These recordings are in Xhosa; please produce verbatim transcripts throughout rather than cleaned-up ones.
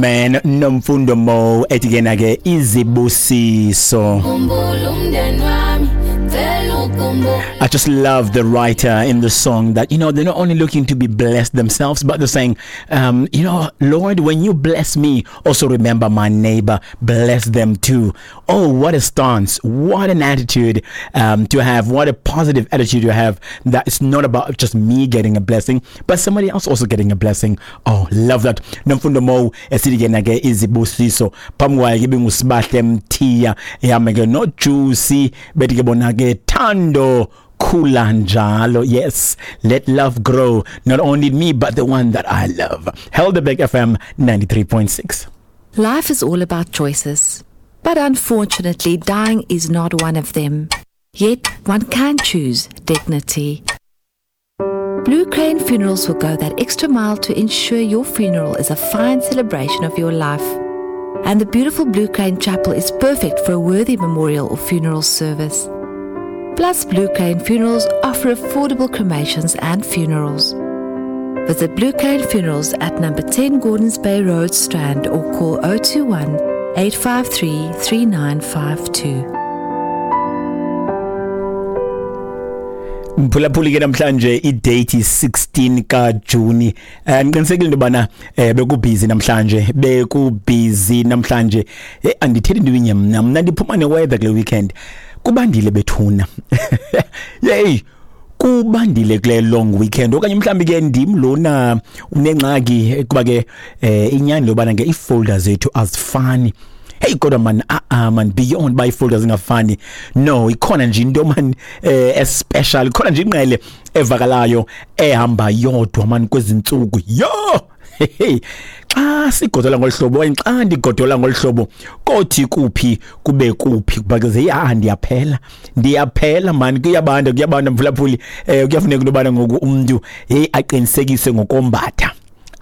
Man, Nomfundo Mo ethi ke na ke izibusiso. Khumbula umndeni wami, cela ukhumbule. I just love the writer in the song that, you know, they're not only looking to be blessed themselves, but they're saying, um, you know, Lord, when you bless me, also remember my neighbor, bless them too. Oh, what a stance, what an attitude um, to have, what a positive attitude to have, that it's not about just me getting a blessing, but somebody else also getting a blessing. Oh, love that. Nomfundo Mo esithi ke na ke izibusiso. Phambi kwayo ke ibinguSibahle Mthiya ehamba ke no Juicy, bethi ke bona ke Thando khula njalo. Yes, let love grow, not only me but the one that I love. Helderberg F M ninety-three point six. Life is all about choices, but unfortunately dying is not one of them. Yet one can choose dignity. Blue Crane Funerals will go that extra mile to ensure your funeral is a fine celebration of your life. And the beautiful Blue Crane Chapel is perfect for a worthy memorial or funeral service. Plus, Blue Crane Funerals offer affordable cremations and funerals. Visit Blue Crane Funerals at number ten Gordons Bay Road, Strand, or call oh two one, eight five three, three nine five two. Mphulaphuli ke namhlanje i-date sixteen ka June. Eh ngiqinisekile into bana eh bekubhizi namhlanje, bekubhizi namhlanje. Eh andithethi into inye mna, mna ndiphuma ne-weather kule weekend. Kubandile bethuna. Yey, kubandile kule long weekend. Okanye mhlambi ke ndim lona unengxaki kuba ke eh inyani lobana ke i-folder zethu azifani. Hey kodwa man, ah ah man, beyond by folders ingafani. No, ikhona nje into man eh special, ikhona nje inqele evakalayo ehamba yodwa man kwezintsuku. Yo! Hey, xa sigodola ngolhlobo, xa ndigodola ngolhlobo, kothi kuphi kube kuphi kuba ke ya ndiyaphela. Ndiyaphela man, kuyabanda kuyabanda mfulaphuli. Eh kuyafuneka into bana ngoku umuntu hey aqinisekise ngokombatha.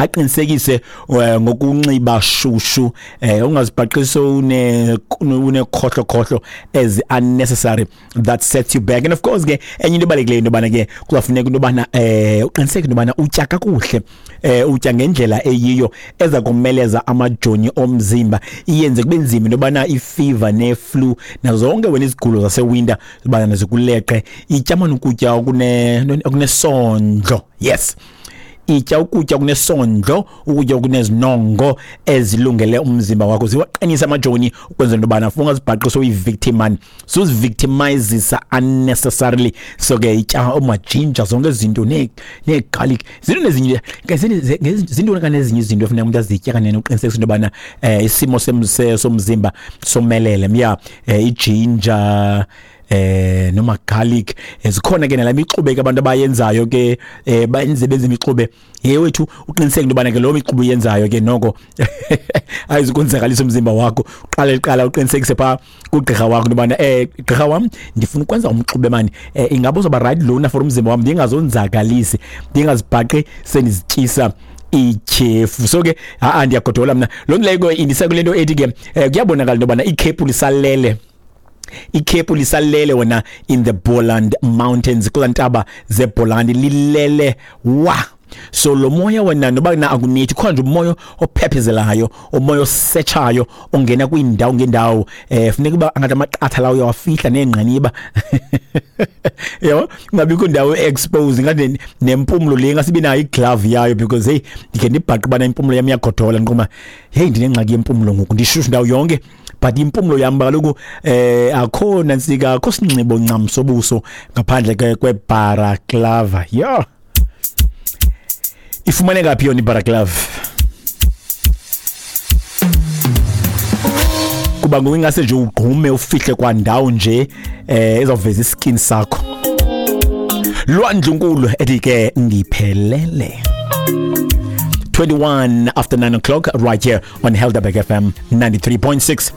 Aqinisekise ngokunxiba shushu, eh ungazibhaqisi une unekhohlo khohlo as unnecessary, that sets you back. And of course ke enye into ebalulekileyo into bana ke kuzafuneka into bana eh uqiniseke into bana utya kakuhle, eh utya ngendlela eyiyo eza kumeleza amajoni omzimba, iyenze kube nzima into bana ifever neflu nazo zonke wena izigulo zasewinter bana zikuleqe. Itya manje ukutya okune okunesondlo. Yes, itya ukutya kunesondlo, ukutya okunezinongo ezilungele umzimba wakho, ziwaqinisa amajoni ukwenzela into bana ungazibhaqi uyi-victim man, suzivictimizisa unnecessarily. So ke itya omajinja zonke izinto ne-garlic, zinto nezinye zinto kanezinye izinto efuneka umuntu azitye kanene uqinisekisa into bana eh isimo somzimba somelele. Yeah, ijinja eh noma garlic zikhona ke nalami ixube ke abantu abayenzayo ke eh bayenze benze imixube yewethu, uqiniseke into bana ke lo mixube uyenzayo ke noko ayizukonzakalisa umzimba wakho. Uqale iqala uqinisekise pha kugqirha wakho into bana eh gqirha wami ndifuna ukwenza umxube mani, eh ingabe uzoba right lona for umzimba wami, ndingazonzakalisi, ndingazibhaqi sendizityisa ityhefu. So ke ha ndiyagodola mna lo nto leyo indisa kule nto ethi ke kuyabonakala into bana ikhephu lisalele, ikhephu lisalele wena in the Boland Mountains, kula ntaba zeBoland lilele wa. So lo moya wena noba na akunithi khona nje umoya ophephezelayo, umoya osetshayo ongena kwindawo ngendawo, eh funeka uba angathi amaqatha lawo uyawafihla nengqiniba. Yabo kungabikho indawo expose ngathi nempumlo le ngasibe nayo iglove yayo, because hey ndikhe ndibhaqe bana impumlo yami iyagodola nqoma hey ndinengxaki yempumlo ngoku ndishushu indawo yonke, but impumlo yami kaloku eh akho nantsika akho sinxibo ncam sobuso ngaphandle kwe-balaclava. Yo, ifumaneka phi yona i-balaclava? Kuba ngoku ingase nje ugqume ufihle kwandawo nje eh ezawuveza iskin sakho. Lwandlunkulu ethi ke ndiphelele. twenty-one after nine o'clock right here on Helderberg F M ninety-three point six.